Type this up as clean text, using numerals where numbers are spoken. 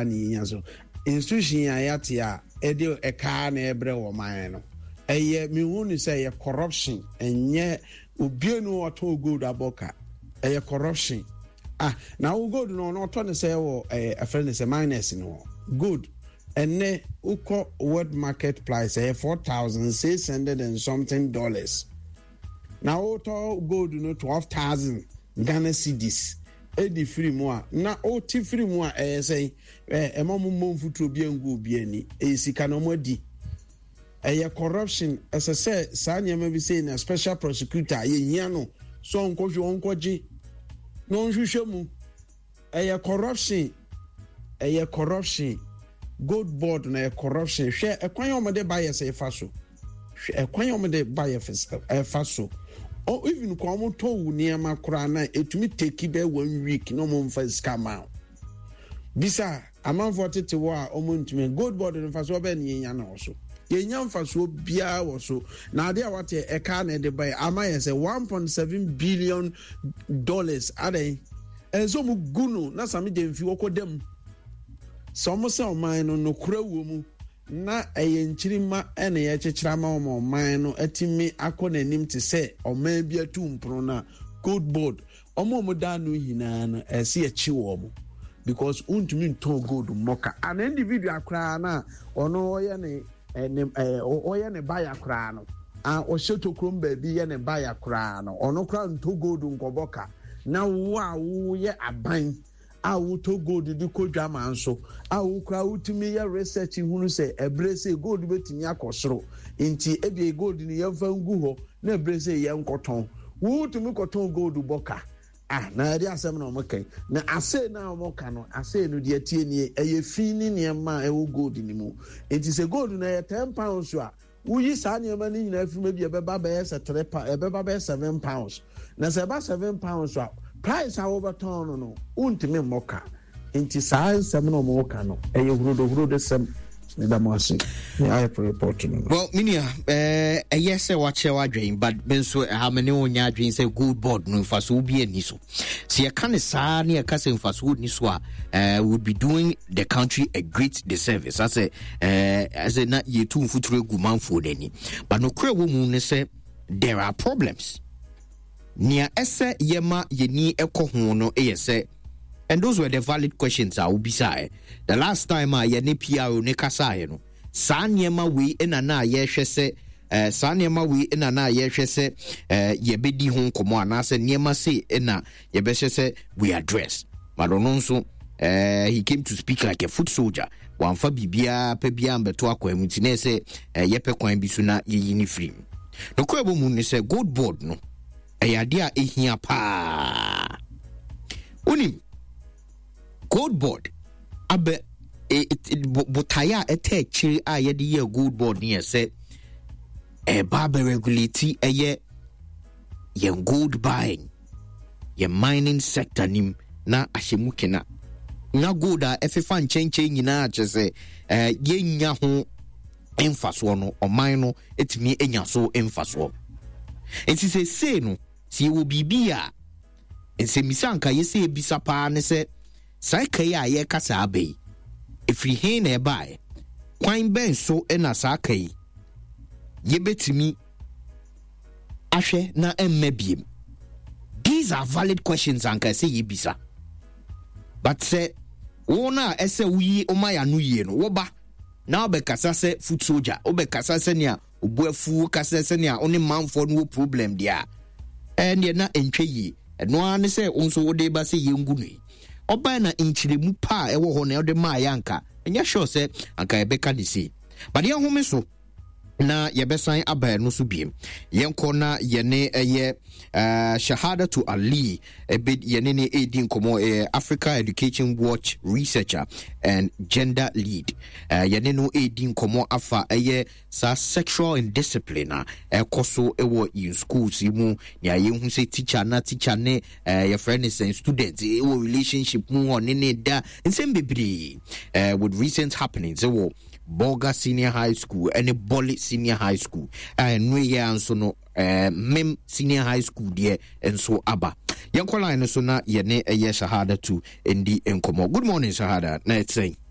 paa na yɛnya so. Institution a yɛate a ɛde ɛkaa na ɛbrɛ wɔ man no, ɛyɛ mehu no sɛ ɛyɛ corruption. Ɛnyɛ obie no ɔtɔn gold abɔ ka, ɛyɛ corruption. Ah, na wo gold no ɔno ɔtɔ ne sɛ wɔ ɛɛ ɛfrɛ ne sɛ minus no gold. Ɛnɛ wokɔ world market price, ɛyɛ 4,600 and something dollars, na wotɔ gold no 12,000 Ghana cedis ɛdi firi mu a, na wote firi mu a, ɛyɛ sɛn? Ɛma mo mmɔ mfuturo bi ngu obi ani. Ɛyɛ sika na ɔmo adi. Ɛyɛ corruption. Ɛsɛ sɛ saa nneɛma bi sei na special prosecutor yɛhia no sɛ ɔnkɔhwɛ, ɔnkɔgye na ɔnhwehwɛ mu. Ɛyɛ corruption, ɛyɛ corruption. Gold Board na ɛyɛ corruption. Hwɛ ɛkwan a wɔde ba yɛ sɛ ɛfa so. Hwɛ ɛkwan a wɔde ba yɛ ɛfa so. O even kɔ wɔn tɔ wo nneɛma koraa na etumi take bɛ one week na wɔn nfa sika ma o. Bisa amanfoɔ tete hɔ a wɔn ntumi. Gold Board no nfasoɔ bɛyɛ ne yɛnya na wɔ so. Yɛnya nfasoɔ biara wɔ so. Na adeɛ a wate ɛka na ɛde ba yɛ ama yɛ sɛ $1.7 billion adan. Ɛsɛ wɔn gu no na Sammy Gyamfi wɔkɔ dam. Sɛ wɔn sɛ ɔman no nokora wɔ mu na ɛyɛ nkyirima na yɛkyekyere ama wɔn, ɔman no atumi akɔ n'anim te sɛ ɔman bi atu mpono no a, Gold Board wɔn a wɔn da ano nyinaa no ɛsɛ yɛkye wɔn, because wontumi ntɔn gold mmɔka. An individual koraa na ɔno ɔyɛ ne ɛne ɛɛ ɔyɛ ne baya koraa no a ɔhyɛ tokurom baabi yɛ ne baya koraa no, ɔno koraa ntɔ gold nkɔbɔ ka. Na wo a woyɛ aban a wotɔ gold de kɔ dwama nso a, wo koraa wotumi yɛ research hunu sɛ ɛberɛ sɛ gold bɛtumi akɔ soro, nti ebia gold no yɛmfa ngu hɔ na ɛberɛ sɛ yɛnkɔtɔn, wotumi kɔtɔn gold bɔ ka. Ah, na yɛde asɛm na wɔn kan na asee na wɔn ka no, asee no deɛ tie nie, ɛyɛ fi ne nneɛma a ɛwɔ gold no mu. Nti sɛ gold no ɛyɛ £10 a, woyi saa nneɛma no nyinaa firi mu, ebi ɛbɛba bɛyɛ sɛ 3 pound, ɛbɛba bɛyɛ £7. Na sɛ ɛba £7 a, price a wɔbɛtɔn no, wontumi mmɔ ka. Nti saa nsɛm na wɔn ka no ɛyɛ hurodohurodo sɛm. Meda mo ase ne ayɛ report no. Well, me nua, ɛyɛ sɛ wakyerɛ w'adwen, but me nso ɛha me ne wo nyɛ adwen sɛ Gold Board no mfasoɔ bi ani so. Sɛ yɛka ne saa ne yɛka sɛ mfasoɔ ni so a, would be doing the country a great disservice. Asɛ asɛ na yɛtu mfuturo agu manfoɔ no ani. But nokorɛ wɔ mu ne sɛ there are problems. Nea ɛsɛ yɛma yɛni ɛkɔ ho no yɛ sɛ, and those were the valid questions a wobisaeɛ the last time a yɛne PRO ne kasaeɛ no. Saa nneɛma wei na na yɛhwɛ sɛ saa nneɛma wei na na yɛhwɛ sɛ yɛbɛdi ho nkɔmmɔ anaasɛ nneɛma sei na yɛbɛhyɛ sɛ we address. But ɔno nso he came to speak like a foot soldier. Wamfa biribiara pɛ biara mbɛto akwan mu, nti na ɛsɛ yɛpɛ kwan bi so na yɛyi ne firi mu. Nokorɛ wɔ mu ne sɛ Gold Board no ɛyɛ adeɛ a ɛhia paa. Wonim Gold Board abɛ botaeɛ a ɛtɛ akyire a yɛde yɛ Gold Board no yɛ sɛ ɛba abɛregulate ɛyɛ yɛn gold buying, yɛn mining sector nim na ahyɛ mu kena na gold a ɛfefa nkyɛnkyɛn nyinaa kyerɛ sɛ yɛnya ho mfasoɔ no, ɔman no tumi anya so mfasoɔ. Nti seesei no, sɛ yɛwɔ biribi a nsɛmmisa anka yɛsɛ yɛbisa paa ne sɛ, saa ka yi a yɛreka saa aba yi, ɛfiri he na ɛbaeɛ? Kwan bɛn so na saa ka yi yɛbɛtumi ahwɛ na ɛmma biem? These are valid questions anka ɛsɛ yɛbisa. But sɛ wɔn a ɛsɛ woyi ɔma yɛ ano yie no wɔba na wobɛkasa sɛ foot soldier, wobɛkasa sɛnea obu afu, wokasa sɛnea wo ne manfoɔ no wɔ problem deɛ a, ɛndeɛ na ɛntwa yie. Ɛno ara ne sɛ wo nso wode ba sɛ yɛngu no yi. Ɔbae na nkyerɛmu pa a ɛwɔ hɔ na ɛde maa yɛ anka ɛnyɛ sure sɛ anka yɛbɛka ne sei. But yɛnhome so na yɛbɛsan aba ɛno so biem. Yɛnkɔ na yɛne ɛyɛ Shahadatu Ali ebe yɛne ne ɛredi nkɔmmɔ, ɛyɛ Africa Education Watch researcher and gender lead. Yɛne no ɛredi nkɔmmɔ afa ɛyɛ saa sexual indiscipline a ɛkɔ so wɔ yɛn schools yi mu, nea yɛhu sɛ teacher na teacher ne yɛfrɛ ne sɛn student wɔ relationship mu, ɔne ne da nsɛm bebree, with recent happenings wɔ Bolga Senior High School ɛne Bole Senior High School a ɛno yɛ nso no Mem Senior High School deɛ nso aba. Yɛnkɔ line no so na yɛne ɛyɛ Shahada tu ndi nkɔmmɔ. Good morning, Shahada. Na ɛte sɛn?